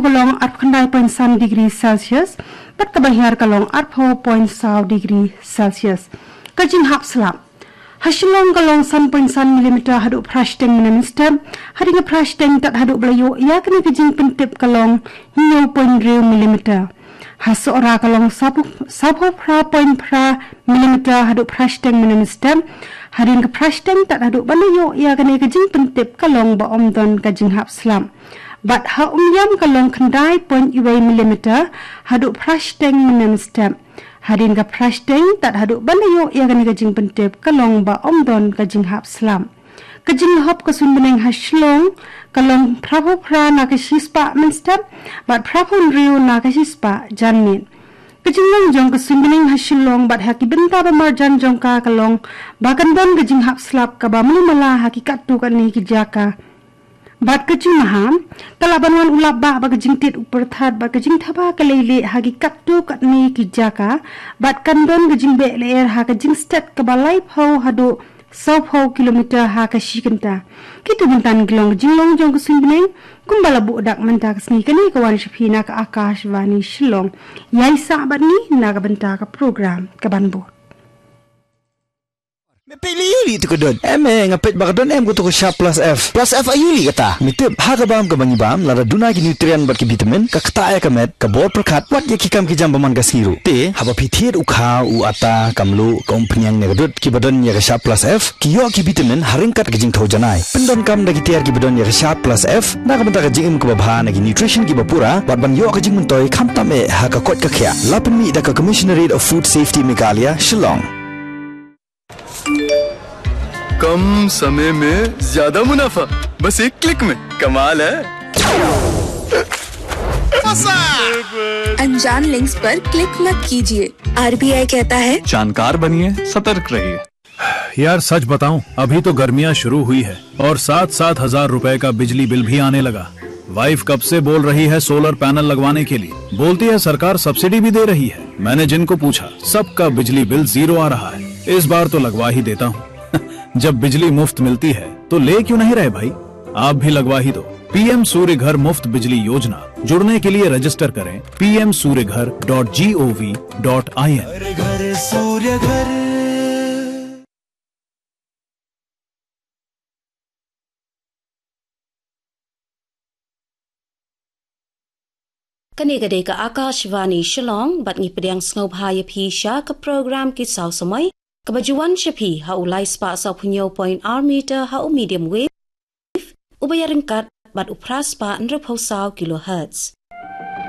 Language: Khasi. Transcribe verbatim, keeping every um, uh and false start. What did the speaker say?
ka long arphew khyndai point san degree Celsius, bad kaba hiar ka long arphew point saw degree Celsius. Ka jinghap slap. Ha Shillong ka long san point san millimeter haduh phra shiteng mynne mynstep, hadien ka phra shiteng tad haduh ba la ïoh ïa kane ka jingpyntip ka long hynñiew point hynriew millimeter. Ha Sohra ka long saphew, saphew phra point phra millimeter haduh phra shiteng mynne mynstep, hadien ka phra shiteng tad haduh ban ïoh ïa kane ka jingpyntip ka long ba ym don ka jinghap slap. Bad ha Umiam ka long khyndai point wei millimeter haduh phra shiteng mynne mynstep. Hadien ka phra shiteng tad haduh ban ïoh ïa kane ka jingpyntip ka long ba ym don ka jinghap slap. Ka jinghap ka suiñ bneng ha Shillong ka long phraphew phra na ka shispah mynstep, bad phraphew hynriew na ka shispah janmiet. Ka jinglong jong ka suiñ bneng ha Shillong bad ha ki bynta ba marjan jong ka ka long ba kan don ka jinghap slap kaba mlien mala ha ki katto katne ki jaka. Bad ka jingmaham, ka lah ban wan u lap bah bad ka jingtied u pyrthat bad ka jingthaba ka leilieh ha ki katto katne ki jaka, bad kan don ka jingbeh lyer ha ka jingstet kaba laiphew haduh sawphew kilometer ha ka shi kynta. Kito mynta ki long ka jinglong jong ka suiñ bneng, kumba la buh dak mynta ka sngi kane ka wan sha phi na ka Akashvani Shillong. Ïai sah bad ngi na ka bynta ka program kaban bud. Me peit lei aïu lei tu ka dud? Em eh, nga peit ba ka don em ka tu ka Sharp Plus F. Plus F aïu lei kata? Me tip, ha ka bam kaba ngi bam, lada duna ki nutrient bad ki vitamin, ka ktah ïa ka met, ka bor pyrkhat, wat ïa ki kam ki jam ba man ka sngi ruh. Te, haba phi thied u kha, u atta, ka mluh, ka umphniang ne ka dud, kiba don ïa ka Sharp Plus F, ki ïoh ki vitamin, ha ryngkat ka jingthew janai. Pyndonkam da ki tiar kiba don ïa ka Sharp Plus F, na ka bynta ka jingim kaba bha na ki nutrition kiba pura, bad ban ïoh ka jingmyntoi, khamtam eh, ha ka koit ka khiah. La pynmih da ka Commissionerate of Food Safety Meghalaya, Shillong. कम समय में ज्यादा मुनाफा, बस एक क्लिक में। कमाल है। अनजान लिंक्स पर क्लिक मत कीजिए। आरबीआई कहता है, जानकार बनिए, सतर्क रहिए। यार, सच बताऊं, अभी तो गर्मियां शुरू हुई है और साथ साथ हजार रुपए का बिजली बिल भी आने लगा। वाइफ कब से बोल रही है सोलर पैनल लगवाने के लिए, बोलती है सरकार सब्सिडी भी दे रही है। मैंने जिनको पूछा, सबका बिजली बिल जीरो आ रहा है। इस बार तो लगवा ही देता हूँ। जब बिजली मुफ्त मिलती है तो ले क्यों नहीं रहे भाई, आप भी लगवा ही दो। पीएम सूर्य घर मुफ्त बिजली योजना। जुड़ने के लिए रजिस्टर करें P M Surya Ghar dot G O V dot I N. घर घर सूर्य घर। Kane ka dei ka Akashvani Shillong, bad ngi pdiang sngewbha ïa phi sha ka program Ki Saw Samoi, kaba ju wan sha phi ha u lai spah sawphew hynñiew point ar meter ha u medium wave, uba ïaryngkat bad u phra spah hynriewphew saw kilohertz.